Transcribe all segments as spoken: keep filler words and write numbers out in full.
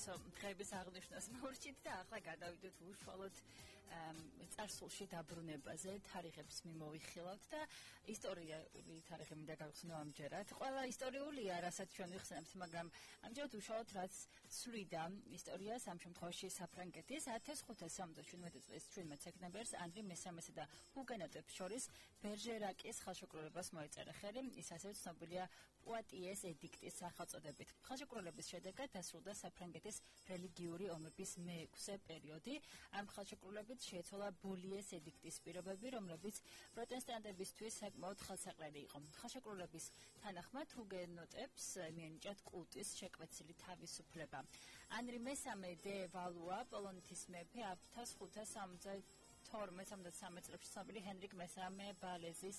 საუკეთესო დღეების აღნიშვნას მოვრჩით და ახლა გადავიდოთ უშუალოდ წარსულში დაბრუნებაზე, თარიღებს მიმოვიხილავთ და ისტორიული თარიღი მინდა გავხსნო ამჯერად. ყველა ისტორიულია, რასაც ჩვენ ვიხსენებთ, მაგრამ ამჯერად უშუალოდ რაც ცვლიდა ისტორიას, ამ შემთხვევაში საფრანგეთის ათას ხუთას ოცდაშვიდმეტი წლის შვიდმეტ სექტემბერს ანდრი მესამესა და ჰუგენოტებს შორის ბერჟერაკის ხელშეკრულებას მოეწერა ხელი, ის ასევე ცნობილია პუატიეს ედიქტის სახელწოდებით. ხელშეკრულების შედეგად დასრულდა საფრანგეთის რელიგიური ომების მეექვსე პერიოდი. ამ ხელშეკრულებით შეეცვალა ბოლიეს ედიქტის პირობები, რომლებიც პროტესტანტებისთვის საკმაოდ ხელსაყრელი იყო. ხელშეკრულების თანახმად ჰუგენოტებს მიენიჭათ კულტის შეკვეცილი თავისუფლება. ანრი მესამე დე ვალუა, პოლონეთის მეფე, ათას ხუთას ორმოცდათორმეტ წლებში ცნობილი ჰენრიკ მესამე ბალეზის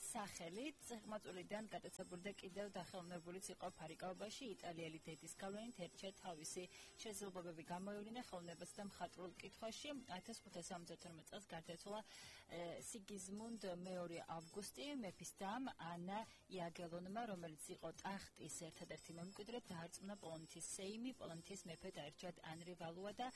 სახელით წიღმაწვილიდან გატაცებული და კიდევ დახელოვნებულიც იყო ფარიკაობაში, იტალიელი დედის გავლენით ერჩა თავისი შესაძლებლობები გამოევლინა ხელოვნებასა და მხატვრულ კითხვაში. ათას ხუთას ორმოცდათორმეტ წელს გარდაეცვალა სიგიზმუნდ მეორე ავგუსტი, მეფის დამ ანა იაგელონმა, რომელიც იყო ტახტის ერთადერთი მემკვიდრე, დაარწმუნა პოლონეთის სეიმი, პოლონეთის მეფე დაერჩათ ანრი ვალუა და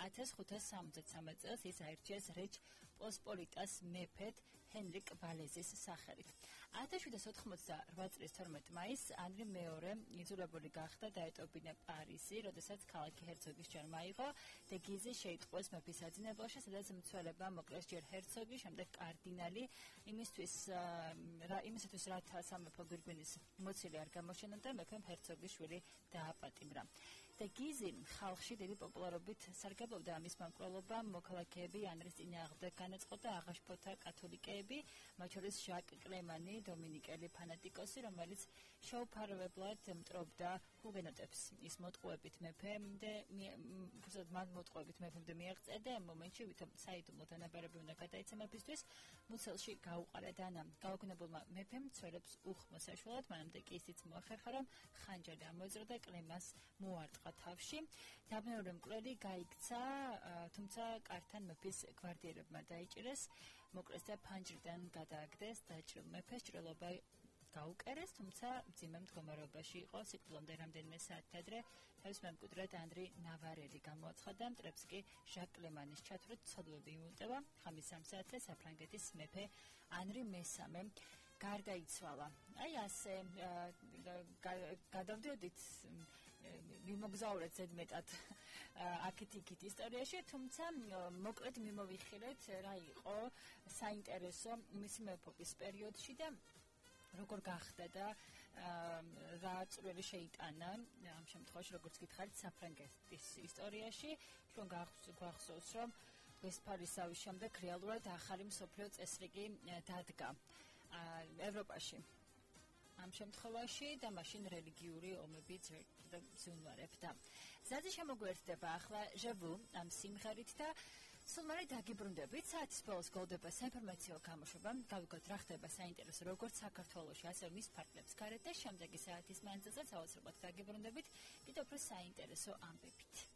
ათას ხუთას სამოცდათრამეტ წელს ის აირჩიეს რეჩ პოსპოლიტას მეფედ ჰენრიკ ბალეზის სახელით. ათას შვიდსათ ოთხმოცდაოთხ წლის თორმეტ მაისს ანრი მეორე იძულებული გახდა დაეტოვებინა პარიზი, როდესაც ქალაქი ჰერცოგის ჯერ მაიღო და გიზი შეიტყვეს მეფის საძინებელში, სადაც მცველებმა მოკლეს ჯერ ჰერცოგი, შემდეგ კარდინალი, იმისთვის იმისათვის რათა სამეფო გვირგვინის მოცილი არ გამოჩენოდა, მეფემ ჰერცოგის შვილი დააპატიმრა. და გიზი ხალხში დიდი პოპულარობით სარგებლობდა, ამის მომკვლელობა მოქალაქეები ანრის წინააღმდეგ განაწყო და აღაშფოთა კათოლიკეები, მათ შორის ჟაკ კლემანი, დომინიკელი ფანატიკოსი, რომელიც შეუფარებლად მტრობდა ჰუგენოტებს. ის მოტყუებით მეფემდე უბრალოდ მან მოტყუებით მეფემდე მიაღწია და ამ მომენტში ვითომ საიდუმლო დანაბარები უნდა გადაეცა მეფისთვის, მუცელში გაუყარა დანა. გაოგნებულმა მეფემ მცველებს უხმო საშუალად, მანამდე კი ისიც მოახერხა, რომ ხანჯალი ამოეძრო და კლემას მოარტყა თავში. დაბნეული მკვლელი გაიქცა, თუმცა კართან მეფის გვარდიერებმა დაიჭირეს, მოკლეს და ფანჯრიდან გადააგდეს, დაჭრილ მეფეს ჭრილობა გაუკერეს, თუმცა მძიმე მდგომარეობაში იყო, სიკვდილამდე რამდენიმე საათი ადრე თავის მემკვიდრედ ანრი ნავარელი გამოაცხადა, მტრებს კი ჟაკ კლემანის ჩათვლით ცოდვები იმულტება. ხამის სამ საათზე საფრანგეთის მეფე ანრი მესამე გარდაიცვალა. აი ასე გადავდიოდით მიმოგზაურეთ ზედმეტად აქეთ-იქით ისტორიაში, თუმცა მოკლედ მიმოვიხილეთ რა იყო საინტერესო მისი მეფობის პერიოდში და როგორ გახდა და რა წვლილი შეიტანა ამ შემთხვევაში, როგორც გითხარით, საფრანგეთის ისტორიაში. ჩვენ გვახსოვს, რომ ვესტფალიის შემდეგ რეალურად ახალი მსოფლიო წესრიგი დადგა ევროპაში. ამ შემთხვევაში და მაშინ რელიგიური ომები ზუნვარებდა. ზაძი შემოგვერთდება ახლა ჟევუ ამ სიმღერით და სულმარი დაგიბრუნდებით. საათის ბოლოს გოლდება საინფორმაციო გამოშვება. გავიგოთ რა ხდება საინტერესო როგორც საქართველოში, ასევე მის ფარგლებს გარეთ და შემდეგი საათის მანძილზე საოცრად დაგიბრუნდებით კიდევ უფრო საინტერესო ამბებით.